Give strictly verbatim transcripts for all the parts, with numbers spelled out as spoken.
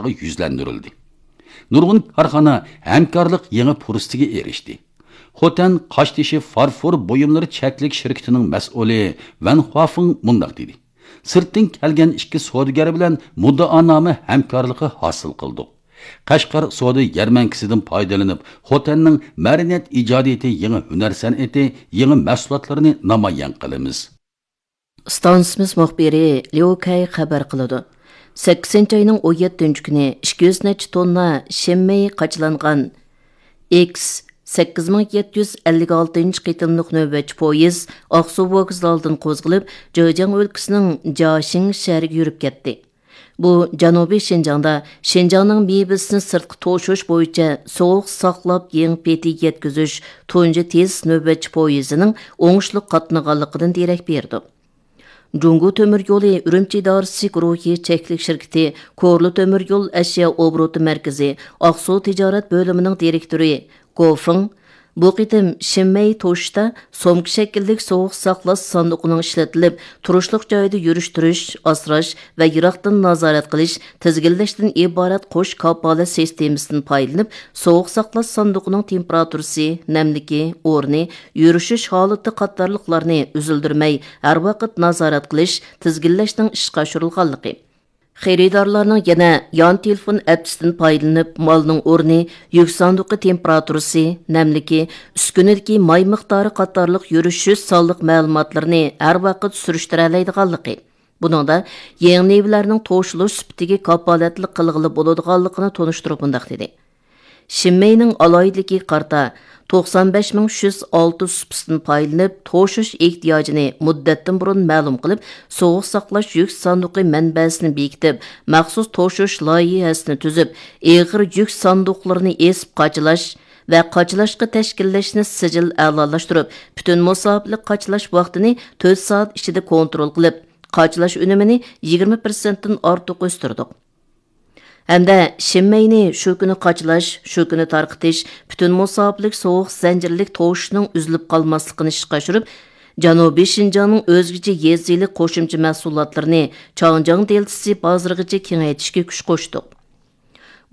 يۈزلەندۈرۈلدى. نۇرغۇن كارخانا ھەمكارلىق يېڭى پۇرسىتىگە ئېرىشتى. خوتەن قاشتېشى فارفور بۇيۇملىرى چەكلىك شىركىتىنىڭ مەسئۇلى ۋەن خۇافېڭ مۇنداق دېدى: سىرتتىن كەلگەن ئىككى سودىگەر بىلەن مۇددىئانامە ھەمكارلىقى ھاسىل قىلدۇق. قەشقەر سودا يەرمەنكىسىدىن پايدىلىنىپ، خوتەننىڭ مەدەنىيەت ئىجادىيىتى، يېڭى ھۈنەر سەنئىتى، يېڭى مەھسۇلاتلىرىنى نامايان قىلىمىز. ئىستانسىمىز مۇخبىرى ليۇ كەي خەۋەر قىلىدۇ. سەككىزىنچى ئاينىڭ ئون يەتتىنچى كۈنى ئىككى يۈز نەچچە توننا شىنمېي قاچىلانغان ئېكس سەككىز مىڭ يەتتە يۈز ئەللىك ئالتىنچى قېتىملىق نۆۋەتچى پويىز ئاقسۇ ۋوگزالىدىن قوزغىلىپ، جېجياڭ ئۆلكىسىنىڭ جياشىڭ شەھىرىگە يۈرۈپ كەتتى. بۇ جەنۇبىي شىنجاڭدا شىنجاڭنىڭ مېۋىسىنى سىرتقا توشۇش بويىچە سوغۇق ساقلاپ، يېڭى پېتى يەتكۈزۈش تۇنجى تېز نۆۋەتچى پويىزىنىڭ ئوڭۇشلۇق قاتنىغانلىقىدىن دېرەك بېرىدۇ. جۇڭگو تۆمۈر يولى ئۈرۈمچى ئىدارىسى گۇرۇھى چەكلىك شىركىتى كورلا تۆمۈر يول ئەشيا ئوبوروتى مەركىزى ئاقسۇ تىجارەت بۆلۈمىنىڭ دىرېكتورى گو فېڭ بۇ قېتىم شىنمەي توشۇشتا سومكا شەكىللىك سوغۇق ساقلاش ساندۇقىنىڭ ئىشلىتىلىپ، تۇرۇشلۇق جايدا يۈرۈشتۈرۈش، ئاسراش ۋە يىراقتىن نازارەت قىلىش، تىزگىنلەشتىن ئىبارەت قوش كاپالەت سىستېمىسىدىن پايدىلىنىپ، سوغۇق ساقلاش ساندۇقىنىڭ تېمپېراتۇرىسى، نەملىكى، ئورنى، يۈرۈشۈش ھالىتى قاتارلىقلارنى ئۈزۈلدۈرمەي ھەر ۋاقىت نازارەت قىلىش، تىزگىنلەشنىڭ ئىشقا ئاشۇرۇلغانلىقى، خېرىدارلارنىڭ يەنە يان تېلېفون ئەپسىدىن پايدىلىنىپ، مالنىڭ ئورنى، يۈك ساندۇقى تېمپېراتۇرىسى، نەملىكى، ئۈسكۈنىدىكى ماي مىقدارى قاتارلىق يۈرۈشۈش سانلىق مەلۇماتلىرىنى ھەر ۋاقىت سۈرۈشتۈرەلەيدىغانلىقى، بۇنىڭدا يېڭى نېۋىلەرنىڭ توشۇلۇش سۈپىتىگە كاپالەتلىك قىلغىلى بولىدىغانلىقىنى تونۇشتۇرۇپ مۇنداق دېدى: شىنمېينىڭ ئالاھىدىلىكىگە قارىتا، توقسان بەش مىڭ ئۈچ يۈز ئالتە سۇپىسىدىن پايدىلىنىپ، توشۇش ئېھتىياجىنى مۇددەتتىن بۇرۇن مەلۇم قىلىپ، سوغۇق ساقلاش يۈك ساندۇقى مەنبەسىنى بېكىتىپ، مەخسۇس توشۇش لايىھەسىنى تۈزۈپ، ئېغىر يۈك ساندۇقلىرىنى ئېسىپ قاچىلاش ۋە قاچىلاشقا تەشكىللەشنى سىجىل ئەلالاشتۇرۇپ، پۈتۈن مۇساپىلىك قاچىلاش ۋاقتىنى تۆت سائەت ئىچىدە كونترول قىلىپ، قاچىلاش ئۈنۈمىنى يىگىرمە پىرسەنتتىن ئارتۇق ئۆستۈردۇق. ھەمدە شىنمەينى شۇ كۈنى قاچىلاش، شۇ كۈنى تارقىتىش، پۈتۈن مۇساپىلىك سوغۇق زەنجىرلىك توشۇشنىڭ ئۈزۈلۈپ قالماسلىقىنى ئىشقا ئاشۇرۇپ، جەنۇبىي شىنجاڭنىڭ ئۆزگىچە يېزا ئىگىلىك قوشۇمچە مەھسۇلاتلىرىنى چاڭجياڭ دېلتىسى بازىرىغىچە كېڭەيتىشكە كۈچ قوشتۇق.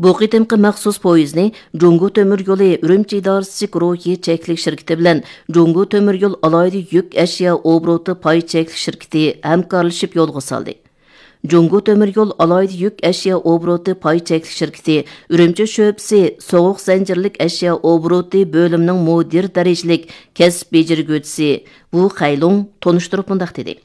بۇ قېتىمقى مەخسۇس پويىزنى جۇڭگو تۆمۈر يولى ئۈرۈمچى ئىدارىسى گۇرۇھى چەكلىك شىركىتى بىلەن جۇڭگو تۆمۈر يول ئالاھىدە يۈك ئەشيا ئوبوروتى پاي چەكلىك شىركىتى ھەمكارلىشىپ يولغا سالدى. جۇڭگو تۆمۈر يول ئالاھىدە يۈك ئەشيا ئوبوروتى پاي چەكلىك شىركىتى ئۈرۈمچى شۆبىسى سوغۇق زەنجىرلىك ئەشيا ئوبوروتى بۆلۈمىنىڭ مۇدىر دەرىجىلىك كەسىپ بېجىرگۈچىسى ۋۇ خەيلۇڭ تونۇشتۇرۇپ مۇنداق دېدى: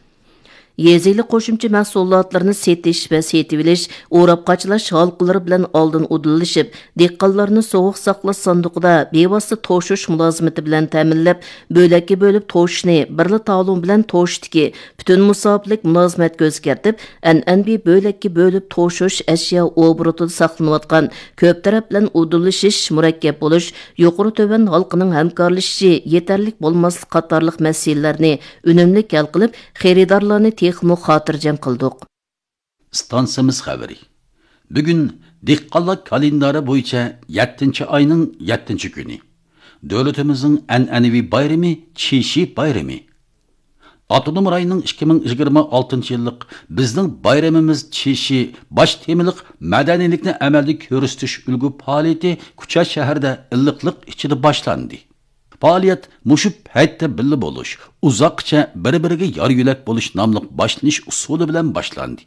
يېزا ئىگىلىك قوشۇمچە مەھسۇلاتلىرىنى سېتىش ۋە سېتىۋېلىش، ئوراپ قاچىلاش ھالقىلىرى بىلەن ئالدىن ئۇدۇللىشىپ، دېھقانلارنى سوغۇق ساقلاش ساندۇقىدا بىۋاسىتە توشۇش مۇلازىمىتى بىلەن تەمىنلەپ، بۆلەككە بۆلۈپ توشۇشنى بىرلا تالون بىلەن توشۇشتىكى پۈتۈن مۇساپىلىك مۇلازىمەتكە ئۆزگەرتىپ، ئەنئەنىۋى بۆلەككە بۆلۈپ توشۇش ئەشيا ئوبوروتىدا ساقلىنىۋاتقان كۆپ تەرەپ بىلەن ئۇدۇللىشىش، مۇرەككەپ بولۇش، يۇقىرى تۆۋەن ھالقىنىڭ ھەمكارلىشىشى يېتەرلىك بولماسلىق قاتارلىق مەسىلىلەرنى ئۈنۈملۈك ھەل قىلىپ، خېرىدارلارنى تېخىمۇ خاتىرجەم قىلدۇق. ئىستانسىمىز خەۋىرى. بۈگۈن دېھقانلار كالېندارى بويىچە يەتتىنچى ئاينىڭ يەتتىنچى كۈنى. دۆلىتىمىزنىڭ ئەنئەنىۋى بايرىمى، چىشى بايرىمى. ئاپتونوم رايوننىڭ ئىككى مىڭ يىگىرمە ئالتىنچى يىللىق بىزنىڭ بايرىمىمىز چىشى باش تېمىلىق مەدەنىيلىكنى ئەمەلدە كۆرسىتىش ئۈلگە پائالىيىتى كۇچا شەھىرىدە ئىللىقلىق ئىچىدە باشلاندى. پائالىيەت مۇشۇ پەيتتە بىللە بولۇش، ئۇزاققىچە بىر-بىرىگە يار-يۆلەك بولۇش ناملىق باشلىنىش ئۇسۇلى بىلەن باشلاندى.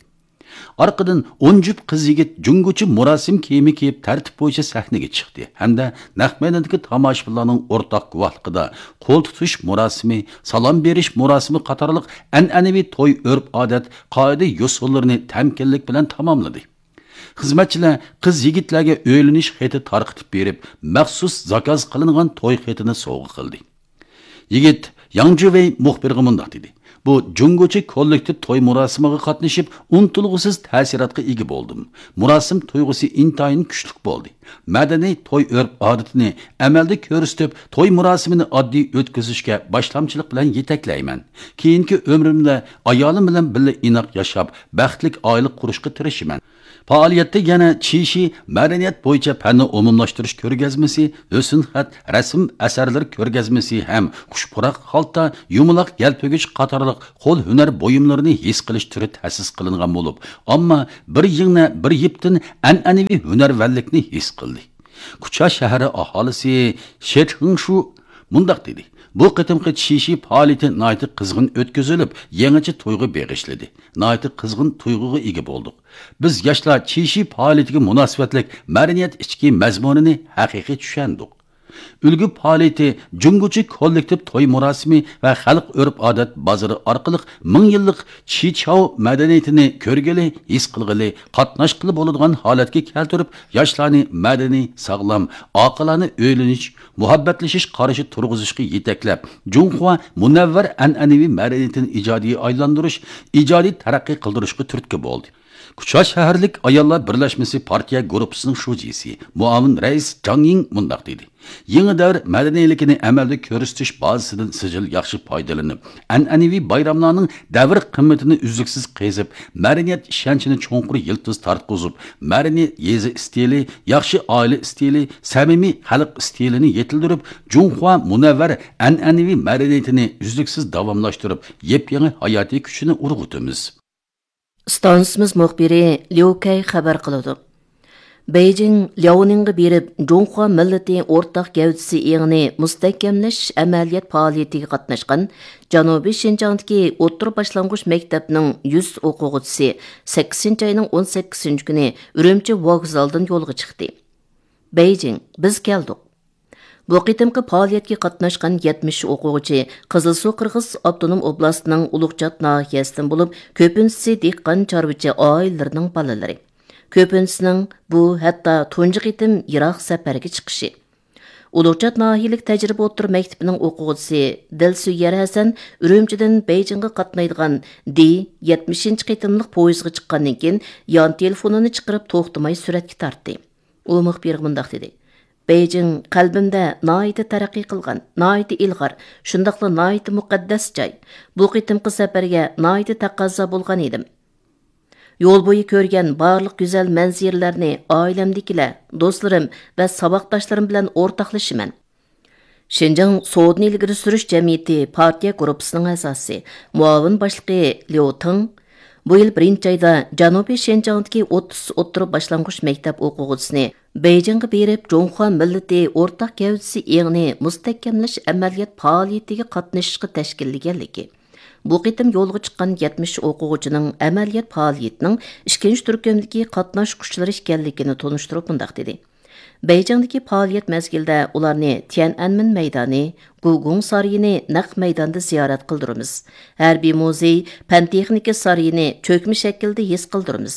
ئارقىدىن ئون جۈپ قىز-يىگىت جۇڭگوچە مۇراسىم كىيىمى كىيىپ، تەرتىپ بويىچە سەھنىگە چىقتى ھەمدە نەق مەيداندىكى تاماشىبىنلارنىڭ ئورتاق گۇۋاھلىقىدا قول تۇتۇش مۇراسىمى، سالام بېرىش مۇراسىمى قاتارلىق ئەنئەنىۋى توي ئۆرپ-ئادەت، قائىدە-يوسۇنلىرىنى تەمكىنلىك بىلەن تاماملىدى. خىزمەتچىلەر قىز-يىگىتلەرگە ئۆيلىنىش خېتى تارقىتىپ بېرىپ، مەخسۇس زاكاز قىلىنغان توي خېتىنى سوۋغا قىلدى. يىگىت ياڭ جۈۋېي مۇخبىرغا مۇنداق دېدى: بۇ جۇڭگوچە كوللېكتىپ توي مۇراسىمىغا قاتنىشىپ، ئۇنتۇلغۇسىز تەسىراتقا ئىگە بولدۇم. مۇراسىم تۇيغۇسى ئىنتايىن كۈچلۈك بولدى. مەدەنىي توي ئۆرپ-ئادىتىنى ئەمەلدە كۆرسىتىپ، توي مۇراسىمىنى ئاددىي ئۆتكۈزۈشكە باشلامچىلىق بىلەن يېتەكلەيمەن. كېيىنكى ئۆمرۈمدە ئايالىم بىلەن بىللە ئىناق ياشاپ، بەختلىك ئائىلە قۇرۇشقا تىرىشىمەن. پائالىيەتتە يەنە چىشى مەدەنىيەت بويىچە پەننى ئومۇملاشتۇرۇش كۆرگەزمىسى، ھۆسنخەت، رەسىم ئەسەرلىرى كۆرگەزمىسى ھەم قۇش پۇراق، خالتا، يۇمىلاق، يەلپۈگۈچ قاتارلىق قول ھۈنەر بۇيۇملىرىنى ھېس قىلىش تۈرى تەسىس قىلىنغان بولۇپ، ئامما بىر يىڭنە، بىر يىپتىن ئەنئەنىۋى ھۈنەرۋەنلىكنى ھېس قىلدى. كۇچا شەھىرى ئاھالىسى شېتىڭشۇ مۇنداق دېدى: «بۇ قېتىمقى چىشى پائالىيىتى ناھايىتى قىزغىن ئۆتكۈزۈلۈپ، يېڭىچە تويغا بېغىشلىدى. ناھايىتى قىزغىن تۇيغۇغا ئىگە بولدۇق. بىز ياشلار چىشى پائالىيىتىگە مۇناسىۋەتلىك مەدەنىيەت ئىچكى مەزمۇنىنى ھەقىقىي چۈشەندۇق.» ئۈلگە پائالىيىتى جۇڭگوچە كوللېكتىپ توي مۇراسىمى ۋە خەلق ئۆرپ-ئادەت بازىرى ئارقىلىق مىڭ يىللىق چىچاۋ مەدەنىيىتىنى كۆرگىلى، ھېس قىلغىلى، قاتناشقىلى بولىدىغان ھالەتكە كەلتۈرۈپ، ياشلارنى مەدەنىي، ساغلام، ئاقىلانە ئۆيلىنىش، مۇھەببەتلىشىش قارىشى تۇرغۇزۇشقا يېتەكلەپ، جۇڭخۇا مۇنەۋۋەر ئەنئەنىۋى مەدەنىيىتىنى ئىجادىيە ئايلاندۇرۇش، ئىجادىي تەرەققىي قىلدۇرۇشقا تۈرتكە بولدى. كۇچا شەھەرلىك ئاياللار بىرلەشمىسى پارتىيە گۇرۇپپىسىنىڭ شۇجىسى، مۇئاۋىن رەئىس جاڭ يىڭ مۇنداق دېدى: «يېڭى دەۋر مەدەنىيلىكىنى ئەمەلدە كۆرسىتىش بازىسىدىن سىجىل ياخشى پايدىلىنىپ، ئەنئەنىۋى بايراملارنىڭ دەۋر قىممىتىنى ئۈزلۈكسىز قېزىپ، مەدەنىيەت ئىشەنچىنى چوڭقۇر يىلتىز تارتقۇزۇپ، مەدەنىي يېزا ئىستىلى، ياخشى ئائىلە ئىستىلى، سەمىمىي خەلق ئىستىلىنى يېتىلدۈرۈپ، جۇڭخۇا مۇنەۋۋەر ئەنئەنىۋى مەدەنىيىتىنى ئۈزلۈكسىز داۋاملاشتۇرۇپ، يېپيېڭى ھاياتىي كۈچىنى ئۇرغۇتىمىز.» ئىستانسىمىز مۇخبىرى ليۇ كەي خەۋەر قىلىدۇ. بېيجىڭ لياۋنىڭغا بېرىپ، جۇڭخۇا مىللىتى ئورتاق گەۋدىسى ئېڭىنى مۇستەھكەملەش ئەمەلىيەت پائالىيىتىگە قاتناشقان جەنۇبىي شىنجاڭدىكى ئوتتۇرا باشلانغۇچ مەكتەپنىڭ يۈز ئوقۇغۇچىسى سەككىزىنچى ئاينىڭ ئون سەككىزىنچى كۈنى ئۈرۈمچى ۋوگزالدىن يولغا چىقتى. بېيجىڭ، بىز كەلدۇق. بۇ قېتىمقى پائالىيەتكە قاتناشقان يەتمىش ئوقۇغۇچى قىزىلسۇ قىرغىز ئاپتونوم ئوبلاستىنىڭ ئۇلۇغچات ناھىيەسىدىن بولۇپ، كۆپىنچىسى دېھقان چارۋىچى ئائىلىلىرىنىڭ بالىلىرى. كۆپىنچىسىنىڭ بۇ ھەتتا تۇنجى قېتىم يىراق سەپەرگە چىقىشى. ئۇلۇغچات ناھىيەلىك تەجرىبە ئوتتۇرا مەكتىپىنىڭ ئوقۇغۇچىسى دىلسۆيەر ھەسەن ئۈرۈمچىدىن بېيجىڭغا قاتنايدىغان دى يەتمىشىنچى قېتىملىق پويىزغا چىققاندىن كېيىن، يان تېلېفونىنى چىقىرىپ توختىماي سۈرەتكە تارتتى. ئۇ مۇخبىرغا مۇنداق دېدى: «بېيجىڭ قەلبىمدە ناھايىتى تەرەققىي قىلغان، ناھايىتى ئىلغار، شۇنداقلا ناھايىتى مۇقەددەس جاي. بۇ قېتىمقى سەپەرگە ناھايىتى تەقەززا بولغان ئىدىم. يول بويى كۆرگەن بارلىق گۈزەل مەنزىرىلەرنى ئائىلەمدىكىلەر، دوستلىرىم ۋە ساۋاقداشلىرىم بىلەن ئورتاقلىشىمەن.» شىنجاڭ سودىنى ئىلگىرى سۈرۈش جەمئىيىتى پارتىيە گۇرۇپپىسىنىڭ ئەزاسى، مۇئاۋىن باشلىقى ليۇ تېڭ بۇ يىل بىرىنچى ئايدا جەنۇبىي شىنجاڭدىكى ئوتتۇز ئوتتۇرا باشلانغۇچ مەكتەپ ئوقۇغۇچىسىنى بېيجىڭغا بېرىپ، جۇڭخۇا مىللىتى ئورتاق گەۋدىسى ئېڭىنى مۇستەھكەملەش ئەمەلىيەت پائالىيىتىگە قاتنىشىشقا تەشكىللىگەنلىكى، بۇ قېتىم يولغا چىققان يەتمىش ئوقۇغۇچىنىڭ ئەمەلىيەت پائالىيىتىنىڭ ئىككىنچى تۈركۈمدىكى قاتناشقۇچىلىرى ئىكەنلىكىنى تونۇشتۇرۇپ مۇنداق دېدى: بېيجىڭدىكى پائالىيەت مەزگىلىدە ئۇلارنى تيەنئەنمېن مەيدانى، گۇگۇڭ سارىيىنى نەق مەيداندا زىيارەت قىلدۇرىمىز. ھەربىي مۇزېي، پەن تېخنىكا سارىيىنى چۆكمە شەكىلدە ھېس قىلدۇرىمىز.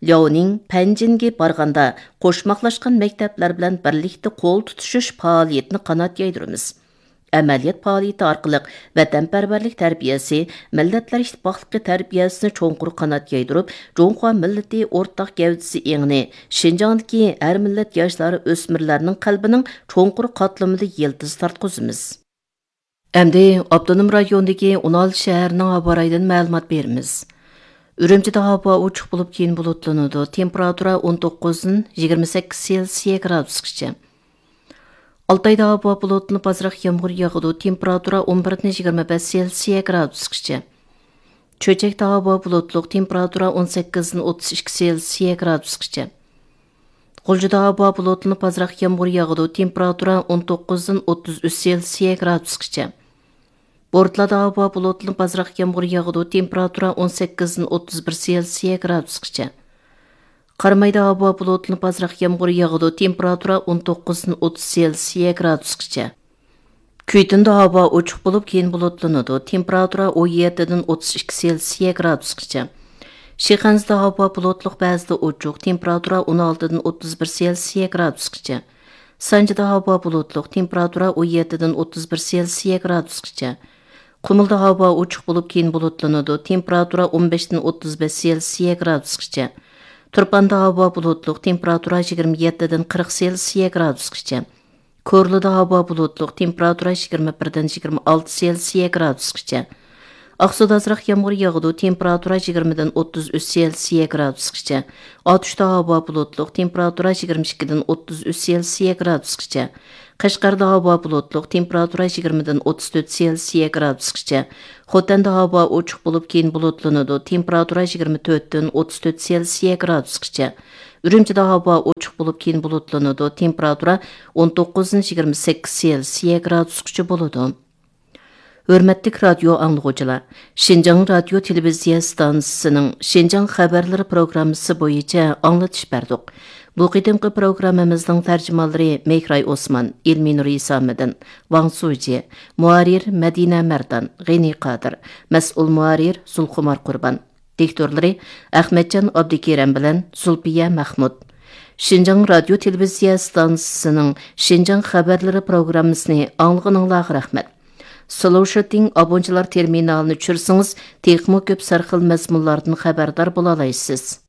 لياۋنىڭ پەنجىنگە بارغاندا، قوشماقلاشقان مەكتەپلەر بىلەن بىرلىكتە قول تۇتۇشۇش پائالىيىتىنى قانات يايدۇرىمىز. ئەمەلىيەت پائالىيىتى ئارقىلىق ۋەتەنپەرۋەرلىك تەربىيەسى، مىللەتلەر ئىتتىپاقلىقى تەربىيەسىنى چوڭقۇر قانات يايدۇرۇپ، جۇڭخۇا مىللىتى ئورتاق گەۋدىسى ئېڭىنى شىنجاڭدىكى ھەر مىللەت ياشلار، ئۆسمۈرلەرنىڭ قەلبىنىڭ چوڭقۇر قاتلىمىدا يىلتىز تارتقۇزىمىز. ئەمدى ئاپتونوم رايوندىكى ئون ئالتە شەھەرنىڭ ھاۋا رايىدىن مەلۇمات بېرىمىز. ئۈرۈمچىدە ھاۋا ئوچۇق بولۇپ، كېيىن بۇلۇتلىنىدۇ. تېمپېراتۇرا ئون توققۇزدىن يىگىرمە سەككىز سېلسىيە گرادۇسقىچە. ئالتايدا ھاۋا بۇلۇتلىنىپ، ئازراق يامغۇر ياغىدۇ. تېمپېراتۇرا ئون بىردىن يىگىرمە بەش سېلسىيە گرادۇسقىچە. چۆچەكتە ھاۋا بۇلۇتلۇق، تېمپېراتۇرا ئون سەككىزدىن ئوتتۇز ئىككى سېلسىيە گرادۇسقىچە. غۇلجىدا ھاۋا بۇلۇتلىنىپ، ئازراق يامغۇر ياغىدۇ، تېمپېراتۇرا ئون توققۇزدىن ئوتتۇز ئۈچ سېلسىيە گرادۇسقىچە. بورتالادا ھاۋا بۇلۇتلىنىپ، ئازراق يامغۇر ياغىدۇ، تېمپېراتۇرا ئون سەككىزدىن ئوتتۇز بىر سېلسىيە گرادۇسقىچە. قارامايدا ھاۋا بۇلۇتلىنىپ، ئازراق يامغۇر ياغىدۇ، تېمپېراتۇرا ئون توققۇزدىن ئوتتۇز سېلسىيە گرادۇسقىچە. كۈيتۈندە ھاۋا ئوچۇق بولۇپ، كېيىن بۇلۇتلىنىدۇ، تېمپېراتۇرا ئون يەتتىدىن ئوتتۇز ئىككى سېلسىيە گرادۇسقىچە. شىخەنزىدە ھاۋا بۇلۇتلۇق، بەزىدە ئوچۇق، تېمپېراتۇرا ئون ئالتىدىن ئوتتۇز بىر سېلسىيە گرادۇسقىچە. سانجىدا ھاۋا بۇلۇتلۇق، تېمپېراتۇرا ئون يەتتىدىن ئوتتۇز بىر سېلسىيە گرادۇسقىچە. قۇمۇلدا ھاۋا ئوچۇق بولۇپ، كېيىن بۇلۇتلىنىدۇ، تېمپېراتۇرا ئون بەشتىن ئوتتۇز بەش سېلسىيە گرادۇسقىچە. تۇرپاندا ھاۋا بۇلۇتلۇق، تېمپېراتۇرا يىگىرمە يەتتىدىن قىرىق سېلسىيە گرادۇسقىچە. كورلىدا ھاۋا بۇلۇتلۇق، تېمپېراتۇرا يىگىرمە بىردىن يىگىرمە ئالتە سېلسىيە گرادۇسقىچە. ئاقسۇدا ئازراق يامغۇر ياغىدۇ، تېمپېراتۇرا يىگىرمىدىن ئوتتۇز ئۈچ سېلسىيە گرادۇسقىچە. ئاتۇشتا ھاۋا بۇلۇتلۇق، تېمپېراتۇرا يىگىرمە ئىككىدىن ئوتتۇز ئۈچ سېلسىيە گرادۇسقىچە. قەشقەردە ھاۋا بۇلۇتلۇق، تېمپېراتۇرا يىگىرمىدىن ئوتتۇز تۆت سېلسىيە گرادۇسقىچە. خوتەندە ھاۋا ئوچۇق بولۇپ، كېيىن بۇلۇتلىنىدۇ، تېمپېراتۇرا يىگىرمە تۆتتىن ئوتتۇز تۆت سېلسىيە گرادۇسقىچە. ئۈرۈمچىدە ھاۋا ئوچۇق بولۇپ، كېيىن بۇلۇتلىنىدۇ، تېمپېراتۇرا ئون توققۇزدىن يىگىرمە سەككىز سېلسىيە گرادۇسقىچە بولىدۇ. ھۆرمەتلىك رادىيو ئاڭلىغۇچىلار، شىنجاڭ رادىيو تېلېۋىزىيە ئىستانسىسىنىڭ شىنجاڭ خەۋەرلىرى پروگراممىسى بويىچە ئاڭلىتىش بەردۇق. بۇ قېتىمقى پروگراممىمىزنىڭ تەرجىمانلىرى مېھراي ئوسمان، ئىلمىنۇر ھېسامىدىن، ۋاڭ سۇجى، مۇھەررىر مەدىنە مەردان، غېنى قادىر، مەسئۇل مۇھەررىر زۇلخۇمار قۇربان. دىكتورلىرى ئەخمەتجان ئابدۇكېرەم بىلەن زۇلپىيە مەخمۇت. شىنجاڭ رادىيو تېلېۋىزىيە ئىستانسىسىنىڭ شىنجاڭ خەۋەرلىرى پروگراممىسىنى ئاڭلىغىنىڭلارغا رەھمەت. سلوشىتىڭ ئابونچىلار تېرمىنالىنى چۈشۈرسىڭىز، تېخىمۇ كۆپ سەرخىل مەزمۇنلاردىن خەۋەردار بولالايسىز.